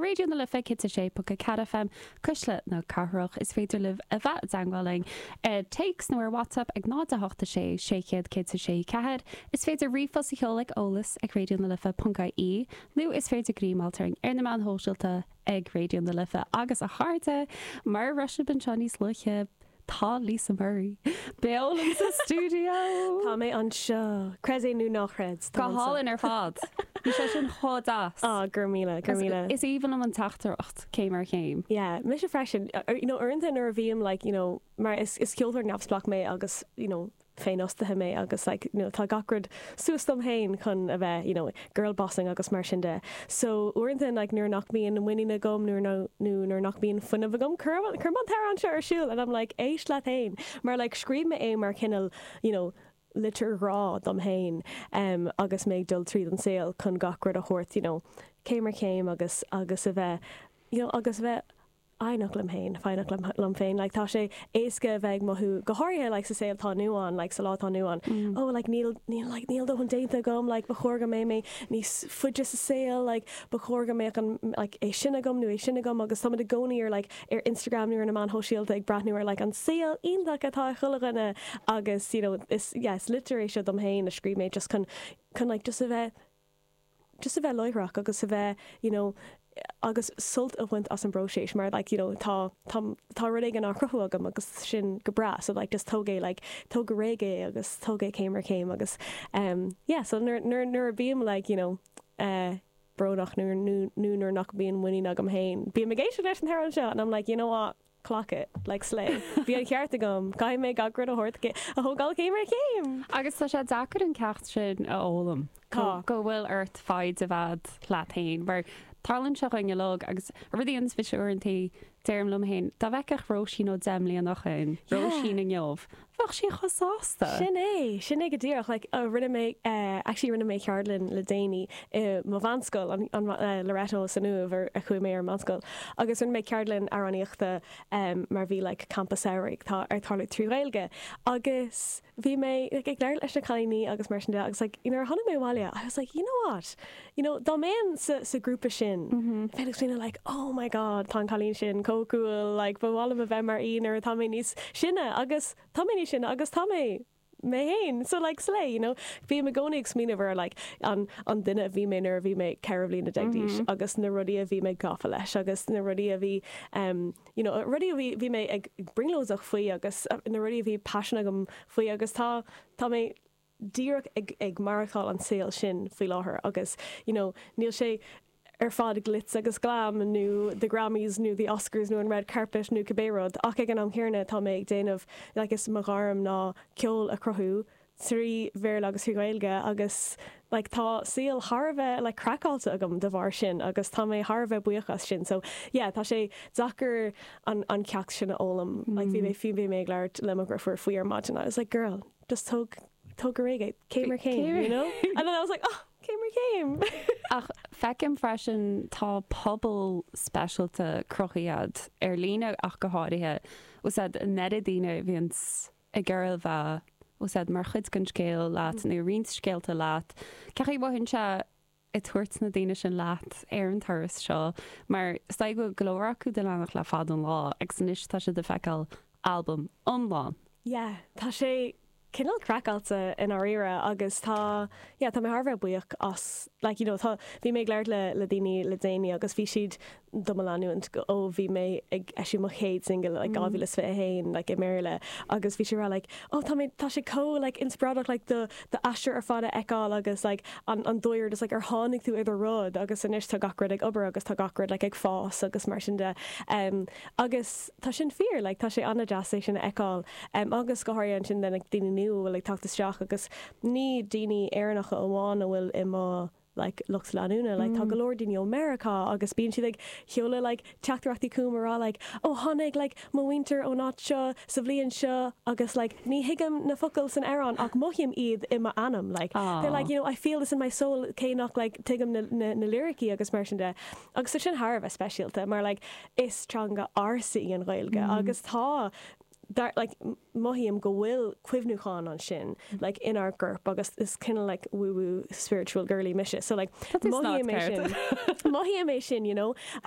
Raidió na Life 106.4 FM, Cuisle na Cathrach. Is féidir libh a bheith i dteangmháil linn ar téacs nó ar WhatsApp ag 0 8 6 600 106 4. Is féidir ríomhphost a sheoladh ag eolas ag raidionalife.ie nó is féidir greamáilt orainn ar na meáin shóisialta ag Raidió na Life. Agus a chairde, mar a raibh sibh anseo níos luaithe, tá Lisa Murray beo linn sa stiúideo! Tá mé anseo! Creid é nó ná chreid, tá Go anseo. hálainn ar fad! Bhí sé sin chomh deas. Á, go raibh míle, go raibh míle. Is aoibhinn liom an teachtaireacht, céim ar chéim. Yeah, mise freisin. You know, uaireanta nuair a bhím like, you know, mar is is ceoltóir neamhspleách mé agus, you know, féinfhostaithe mé agus like, you know, tá gach rud suas dom féin chun a bheith, you know, girl bossing agus mar sin de. So uaireanta like nuair nach mbíonn muinín agam nuair nó nuair nach mbíonn fuinneamh agam, cuirim cuirim an t-amhrán seo ar siúl and I'm like éist leat féin mar like scríobh mé é mar chineál, you know, litir ghrá dom féin um agus mé ag dul tríd an saol chun gach rud a thabhairt, you know, céim ar chéim agus agus a bheith, you know, agus a bheith foighneach liom féin, foighneach liom, liom féin. Like, tá sé éasca a bheith ag mothú, go háirithe, like, sa saol atá inniu ann, like, sa lá atá inniu ann, oh, like, níl, níl, like, níl dóthain déanta agam, like, ba chóir go mbeidh mé níos faide sa saol, like, ba chóir go mbeadh an, like, é sin agam nó é sin agam agus táimid i gcónaí ar, like, ar Instagram nó ar na meáin shóisialta ag breathnú ar, like, an saol iontach atá ag chuile dhuine agus, you know, is, yeah, is litir é seo dom féin a scríobh mé just chun, chun, like, just a bheith, just a bheith láithreach agus a bheith you know agus sult a bhaint as an bpróiseas mar like you know tá tá tá rud éigin á chruthú agam agus sin go breá so like just tóg é like tóg go réidh é agus tóg é céim ar chéim agus um yeah so nuair nuair nuair a bím like you know eh brónach nó nó nó nuair nach mbíonn muinín agam féin bím ag éisteacht leis an t-amhrán seo and I'm like you know what Clock it, like slay. Bhí an ceart agam. Caithfidh mé gach rud a thabhairt, a thógáil céim ar chéim! Agus tá sé deacair an ceacht sin a fhoghlaim. Tá. Go bhfuil ort foighid a bheith leat féin. Mar tarlaíonn sé dhúinn uilig agus an rud a dhéananns mise uaireantaí, deirim liom féin, dá bhfeicfeadh Róisín ó 10 mbliana ó shin, Róisín inniu, bheadh sí chomh sásta. Sin é, sin é go díreach. Like, rinne mé, actually rinne mé ceardlann le déanaí i mo mheánscoil, an, an, Loreto san Uaimh ar a chuaigh mé ar an meánscoil, agus rinne mé ceardlann amhránaíochta mar bhí like campa samhraidh tá ag tarlú trí Ghaeilge agus bhí mé like ag labhairt leis na cailíní agus mar sin de agus like nuair a tháinig mé abhaile I was like you know what you know dá mbeinn sa sa grúpa sin bheinn ag smaoineamh like oh my god tá an cailín sin chomh cool like ba mhaith liom a bheith mar í nuair atá mé níos sine agus tá mé níos sine agus tá mé mé féin so like slay you know bím i gcónaí ag smaoineamh ar like an an duine a bhí mé nuair a bhí mé 14 bhliana d'aois agus na rudaí a bhí mé gafa leis agus na rudaí a bhí um you know rudaí a bhí bhí mé ag brionglóideach faoi agus na rudaí a bhí paisean agam faoi agus tá tá mé díreach ag ag maireachtáil an saol sin faoi láthair agus you know níl sé ar fad glitz agus glam nó the Grammys nó the Oscars nó an red carpet nó cibé rud ach ag an am chéanna tá mé ag déanamh like is mo ghairm ná ceol a chruthú trí Bhéarla agus trí Ghaeilge agus like tá saol thar a bheith like craiceáilte agam de bharr sin agus tá mé thar a bheith buíoch as sin so yeah tá sé deacair an an ceacht sin a fhoghlaim like bhí mé fiú bhí mé ag labhairt le mo dheirfiúr faoi ar maidin I was like girl just tóg tóg go réidh é céim ar chéim you know and then I was like oh céim ar chéim. Ach feicim freisin tá pobal speisialta cruthaithe a'd, ar líne ach go háirithe, bhfuil 's a'd, an oiread daoine a bhíonns ag iarraidh a bheith, bhfuil 's a'd, mar chuid den scéal leat nó roinnt scéalta leat. Cén chaoi a mhothaíonn sé ag tabhairt na daoine sin leat ar an turas seo mar is dóigh go bhfuil go leor acu do leanacht le fada an lá agus anois tá siad ag feiceáil albam iomlán. Yeah, tá sé cineál craiceáilte i ndáiríre agus tá, yeah, tá mé thar a bheith buíoch as, like, you know, tá, bhí mé ag labhairt le, le daoine le déanaí agus bhí siad do mo leanúint ó bhí mé ag eisiú mo chéad single like 2021 like i mBéarla agus bhí siad ag rá like oh tá mé tá sé chomh like inspioráideach like do do aistear ar fad a fheiceáil agus like an an dóigh ar just like ar tháinig tú ar do rud agus anois tá gach rud ag obair agus tá gach rud like ag fás agus mar sin de um agus tá sin fíor like tá sé an-deas é sin a fheiceáil um agus go háirithe ansin then like daoine nua a bhfuil ag teacht isteach agus ní daoine Éireannacha amháin a bhfuil i mo like lucht leanúna like tá go leor daoine ó Meiriceá agus bíonn siad ag seoladh like teachtaireachtaí chugam ag rá like oh tháinig like mo mhuintir ón áit seo sa bhliain seo agus like ní thuigim na focail san amhrán ach mothaím iad i m'anam like they're like you know I feel this in my soul cé nach like tuigim na na na liricí agus mar sin de agus tá sin thar a bheith speisialta mar like is teanga ársa í an Ghaeilge agus tá dar, like, mothaím go bhfuil cuimhniúchán ansin, like, inár gcorp agus is cineál, like, woo woo spiritual girly mise, so, like, mothaím é sin, mothaím é sin, you know, agus.